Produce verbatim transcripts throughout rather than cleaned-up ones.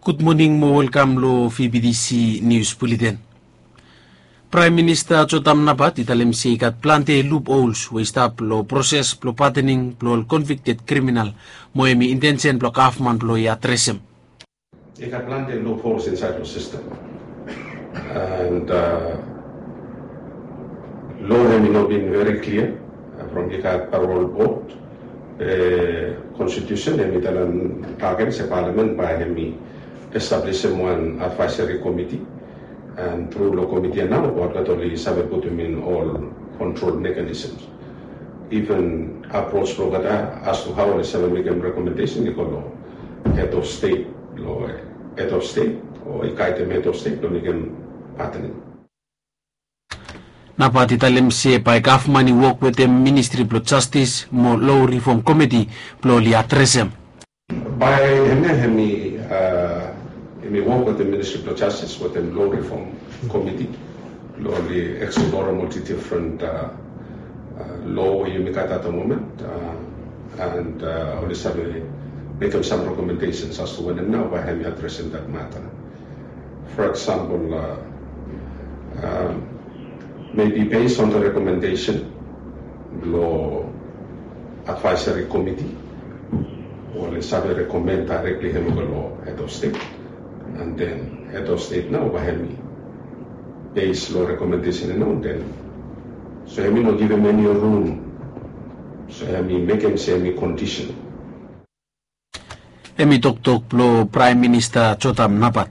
Gud moning mo welkam long V B T C Nius Buleten. Praem Minista Jotam Napat i talem se i gat plante luphols we i stap long proses blong patening blong ol konvikted kriminal, mo hem i intensen blong gavman blong i adresem. I gat plante luphols insaed long sistem. And lo hem i no bin veri klia from i gat parol bod, konstitusen hem i talem agen se palamen bae hem i establisim wan advaeseri komiti. And tru long komiti ya nao olgeta oli save putum in ol kontrol mekanisms. Iven apros blong olgeta as tu hao oli save mekem rekomendesen i go long hed of stet, long hed of stet o i gaedem hed of stet blong mekem patening. Napat i talem se bae gavman i wok wetem Ministri blong Jastis mo Lo Rifom Komiti blong oli adresem. Bae hemia hem i hem i wok wetem Ministri blong Jastis wetem Lo Rifom Komiti blong oli eksplorem ol difren lo we yumi gat at the moment. And oli save mekem sam rekomendesens as tu wanem nao bae hem i adresem dat mata. For example, maybe based on the recommendation blong advisory committee, oli save rekomen daerekli hem i go long head of state. And then head of state nao bae hem i base long rekomendesen ya nao, then so hem i no givim eni rum, so hem i mekem se hem i kondisen. Hem i toktok blong Praem Minista Jotam Napat.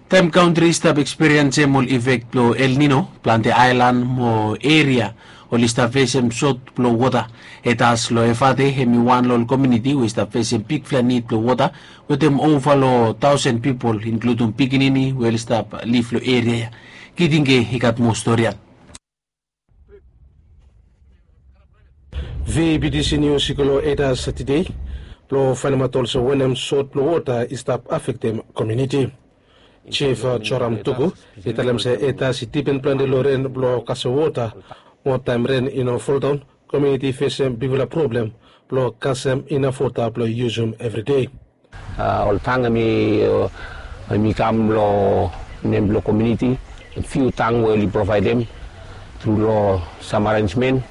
Taem kantri i stap ekspiriensem ol ifek blong El Nino, plante aelan mo eria oli stap fesem sot blong wota. Etas long Efate hem i wan long ol komuniti we i stap fesem bigfala nid blong wota, wetem ova long taosen pipol, inkludum pikinini we oli stap liv long eria ya. Kitinge i gat moa stori ya. V B T C Nius i go long Etas tede blong faenemaot olsem wanem sot blong wota i stap afektem komuniti. Jif Joram Tuku i talem se Etas i dipen plante long ren blong kasem wota. Mo taem ren i no foldaon, komuniti i fesem bigfala problem blong kasem inaf wota blong yusum evri dei. Ol tang hem i kam long nem blong komuniti. Fiu tang we oli provaedem tru long sam arenjmen.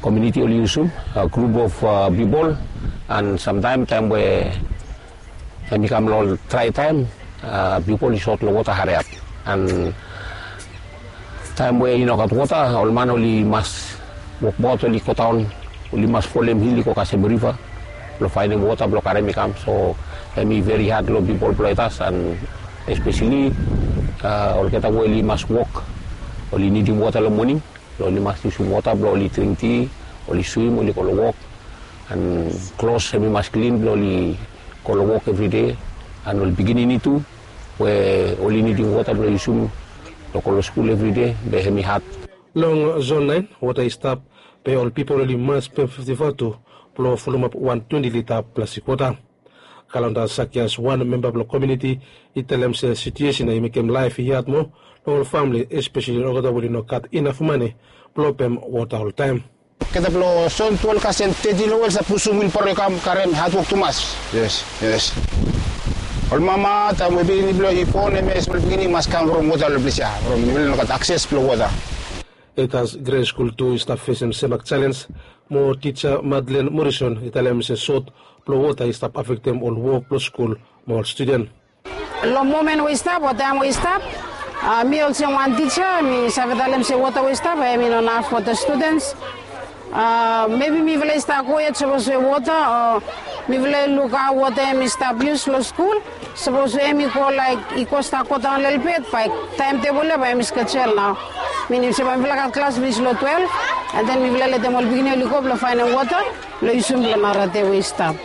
Komuniti oli yusum, grup of pipol. And samtaem taem we hem i kam long ol drae taem, pipol i sot long wota hariap. And taem we i no gat wota, ol man oli mas wokbaot, oli godaon, oli mas folem hil i go kasem riva blong faenem wota blong karem i kam. So hem i veri had long pipol blong Etas, and espeseli olgeta we oli mas wok, oli nidim wota long moning blong oli mas yusum wota blong oli dring ti, oli swim, oli go long wok. And klos hem i mas klin blong oli go long wok evride. And ol pikinini tu we oli nidim wota blong yusum blong go long skul evride, be hem i had. Long zon naen wota i stap, be ol pipol oli mas pem fifti vatu blong fulumap wan twenti lita plastik wota. Kalonda Sakias, wan memba blong komuniti, i talem se situesen ya i mekem laef i had moa long ol famle, espeseli olgeta we oli no gat inaf mane blong pem wota oltaem. Olgeta blong zon twelef kasem teti long wel i save pusum wilbaro i kam karem, hadwok tumas. Yes, yes. Ol mama taem we pikinini blong i bon, hemia smol pikinini i mas kam from wota long ples ya, from oli no gat akses blong wota. Etas Gre Skul tu i stap fesem semak jalenj, mo tija Madlen Morison i talem se sot blong wota i stap afektem ol wok blong skul mo ol studen. Long momen we i stap o taem we i stap, mi olsem wan tija mi save talem se wota we i stap hem i no naf fo the students. Mebi mifala i stap go yet sapos we wota o mifala i luk hao wota hem i stap yus long skul. Sapos we hem i go laek i go stap godaon lelebet, bae taemtebol ya bae hem i skejel nao. Minim se bae mifala gat klas finis long twelef, and then mifala letem ol pikinini oli go blong faenem wota blong yusum blong nara dei we i stap.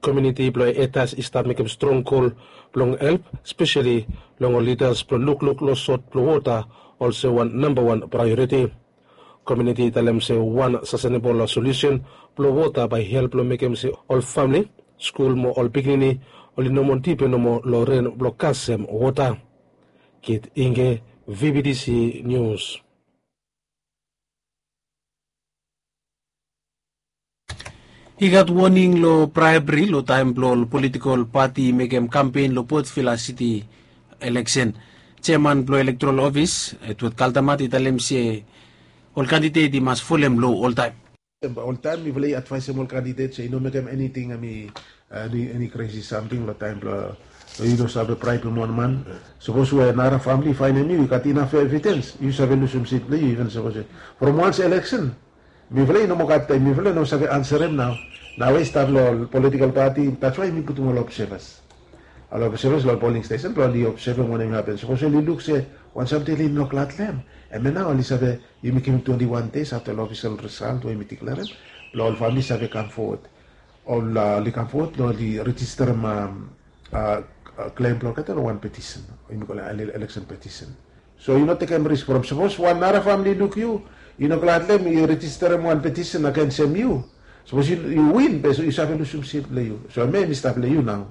Komuniti blong Etas i stap mekem strong gol blong help, speseli long ol lidas blong lukluk long sot blong wota olsem wan nambawan praeoriti. Komuniti i talem se wan sastenebol solusen blong wota bae i help long mekem se ol famle, skul mo ol pikinini oli no moa dipen nomo long ren blong kasem wota. Kit Inge, V B T C Nius. I gat woning long braebri long taem blong ol politikol pati i mekem kampen long Port Vila City eleksen. Jeaman blong elektoral ofis, Edward Kaldamat, i talem se ol kandidet i mas folem loa oltaem. Oltaem mifala i advaesem ol kandidet se i no mekem eniting, hemi eni kresi samting long taem blong yu no save braebem wan man. Sapos we nara famili i faenem yu i gat inaf evidens, yu save lusum sit blong yu iven sapos from wans eleksen. Mifala i no moa gat taem, mifala i no save ansarem nao. Nao i stap long ol politikol pati, that's why mi putum ol obsevas. Ol obsevas long ol poling stesen blong oli obsevem wanem i hapen. Sapos oli luk se wan samting oli no glad long hem, hemia nao oli save, yumi givim twenti wan deis afta long ofisel risalt we yumi diklerem blong ol famili save kam fowod. Ol oli kam fowod blong oli rejisterem klem blong olgeta long wan petisen, yumi kolem eleksen petisen. So yu no tekem risk from sapos wan nara famili i luk yu, i no glad long hem, i rejisterem wan petisen agensem yu. Sapos yu win be yu save lusum sit blong yu. So hemia hemi stap long yu nao.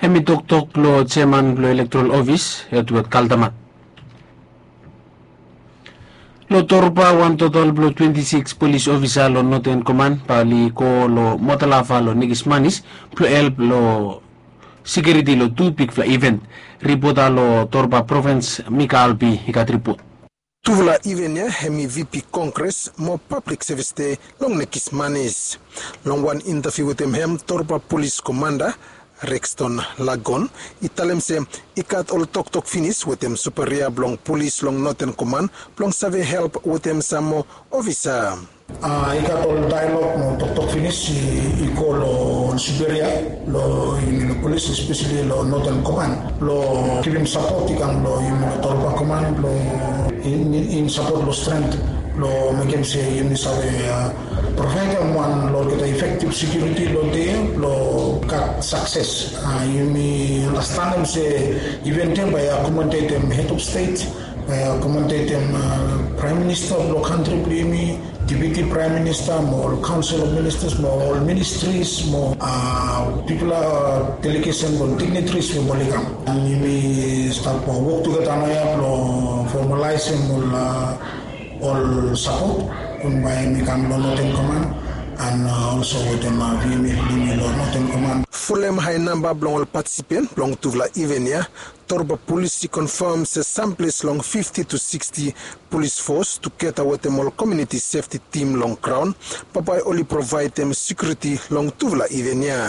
Hemi toktok blong jeaman blong elektoral ofis, Edward Kaldamat. Long Torba, wan total blong twenti sikis polis ofisa long Noten Koman bae oli go long Motalava long Nikismanis blong help long sekiuriti long tu bigfala iven. Ripota long Torba provins, Mika Albi, i gat ripot. Tufala iven ya hemi VP Kongres mo Pablik Sevis Dei long Nikismanis. Long wan intaviu wetem hem, Torba Polis Komanda Rexton Lagon i talem se i gat ol toktok finis wetem superia blong polis long Noten Koman blong save help wetem sam moa ofisa. I gat ol daelog mo toktok finis i go long superia long yumi long polis, espeseli long Noten Koman, blong givim sapot i kam long yumi long Torba Koman blong in sapot long strength blong mekem se yumi save provaedem wan long olgeta efektiv sekiuriti long dei ya blong gat sakses. Yumi andastanem se iven ya bae i akomodetem hed of stet, bae i akomodetem praem minista blong kantri blong yumi, deputi praem minista mo ol kaonsel of ministas mo ol ministris mo bigfala delegesen mo dignitaries we oli kam. An yumi stap wok tugeta naoia blong fomalaesem ol ol sapot we bae yumi kam long Noten Koman an olso wetem VMF blong yumi long Noten Koman. Folem hae namba blong ol patisipen blong tufala iven ya, Torba Polis i konfam se samples long fifti tu siksti polis fos tugeta wetem ol komuniti sefti tim long graon bae bae oli provaedem sekiuriti long tufala iven ya.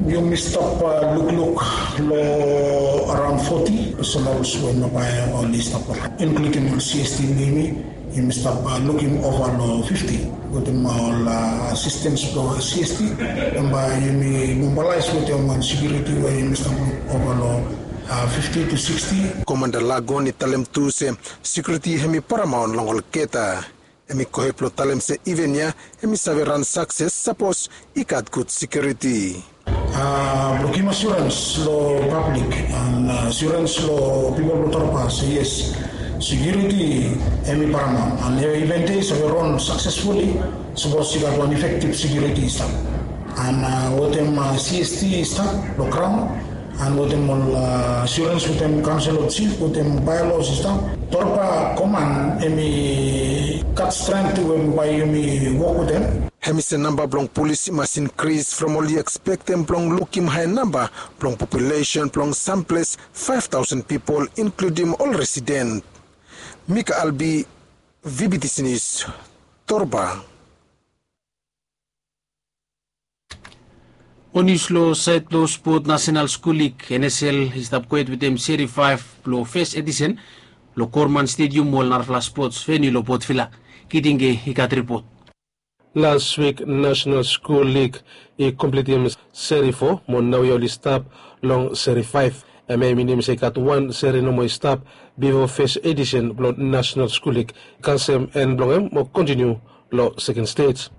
Yumi stap lukluk long araon foti personals we bae oli stap, inkludim ol CST blong yumi. Yumi stap lukim ova long fifti wetem ol asistens blong CST. Bae yumi mobilaes wetem wan sekiuriti we yumi stap luk ova long fifti tu siksti. Komanda Lagon i talem tu se sekiuriti hemi paramaon long olgeta. Hemi gohed blong talem se iven ya hemi save ran sakses sapos i gat gud sekiuriti. Blong givim asurens long pablik an asurens long pipol blong Torba se yes, sekiuriti hemi paramaon an iven ya i save ran saksesfuli sapos i gat wan efektiv sekiuriti i stap. An wetem CST i stap long graon an wetem ol asurens wetem kaonsel of jif wetem baelos i stap, Torba Koman hemi gat strength we bae yumi wok wetem. Hemi se namba blong polis i mas inkris from oli ekspektem blong lukim hae namba blong populesen blong samples faef taosen pipol, inkludim ol residen. Mika Albi, VBTC Nius, Torba. Ol nius long saed blong spot, Nasenal Skul Lig, NSL, i stap kwet wetem Seri faef blong fes edisen long Gorman Stedium, ol narafala spots veniu long Port Vila. Kitinge i gat ripot. Las wik Nasenal Skul Lig i komplitim Seri fo mo naoia oli stap long Seri faef. Hemia i minim se i gat wan seri nomo i stap bifo fes edisen blong Nasenal Skul Lig i kasem en blong hem mo kontiniu long seken stej.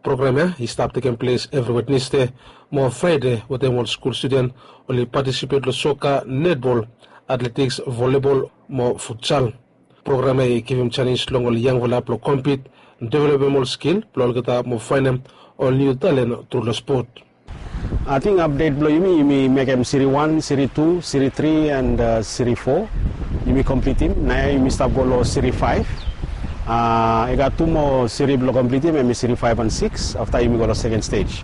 Program ya i stap tekem ples evri Wednesde mo Fraede wetem ol skul studen oli patisipet long soka, netbol, atletiks, volibol mo futsal. Program ya i givim janis long ol yangfala blong kompit, developem ol skil blong olgeta mo faenem ol niu talen tru long spot. Ating apdet blong yumi, yumi mekem Seri wan, Seri tu, Seri tri and Seri fo yumi komplitim. Naoia yumi stap go long Seri faef. I gat tu moa siri blong komplitim, hemi siri faef an sikis afta yumi go long seken stej.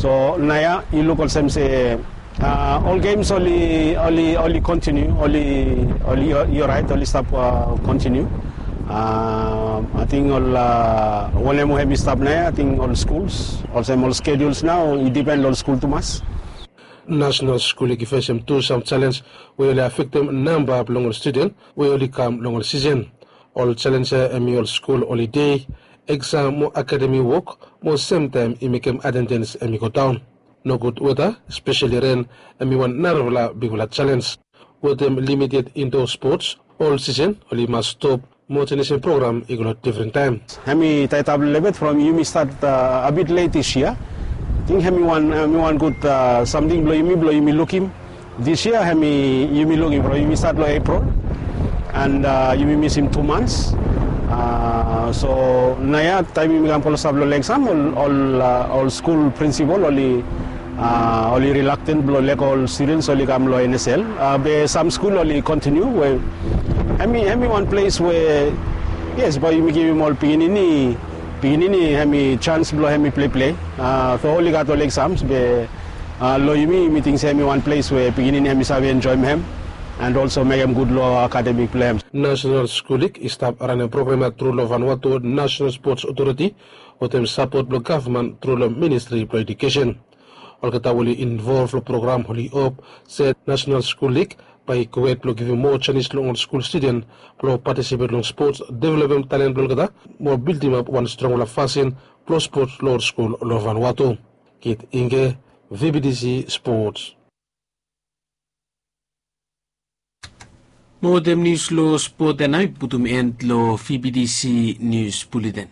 So naoia i luk olsem se ol gems oli oli oli kontiniu, oli oli i oraet, oli stap kontiniu. Ating ol wanem we hemi stap naoia, ating ol skuls olsem ol skeduls nao i dipen long ol skul tumas. Nasenal skul i fesem tu sam jalenj we oli afektem namba blong ol studen we oli kam long ol sisen. Ol jalenj ya hemi ol skul olide, eksam mo akademi wok, mo semtaem i mekem atendens hemi godaon. Nogud weta, speseli ren, hemi wan narafala bigfala jalenj. Wetem limited indo spots, ol sisen oli mas stop mo jenisim program i go long difren taem. Hemi taetap lelebet from yumi stat a bit let dis yia. Ating hemi wan hemi wan gud samting blong yumi blong yumi lukim. Dis yia hemi yumi lukim from yumi stat long Epril, and yumi misim tu mans. So naoia taem yumi kam klosap long eksam, ol ol skul prinsipal oli oli rilakten blong lego ol studens oli kam long N S L. Be sam skul oli kontiniu we hemi hemi wan ples we yes, bae yumi givim ol pikinini pikinini hemi jans blong hemi pleplei. So oli gat ol eksams be long yumi yumi ting se hemi wan ples we pikinini hemi save enjoem hem and olso mekem gud long akademik blong hem. Nasenal skul lig i stap ranem program ya tru long Vanuatu Nasenal Spots Otoriti wetem sapot blong gavman tru long Ministri blong Ejukesen. Olgeta we oli involv long program oli hop se nasenal skul lig bae i gred blong givim moa janis long ol skul studen blong patisipet long spots, developem talen blong olgeta mo bildimap wan strongfala fasin blong spots long ol skul long Vanuatu. Kit Ingge, V B T C Spots. Mo wetem nius long spot ya nao i putum en long V B T C Nius Buleten.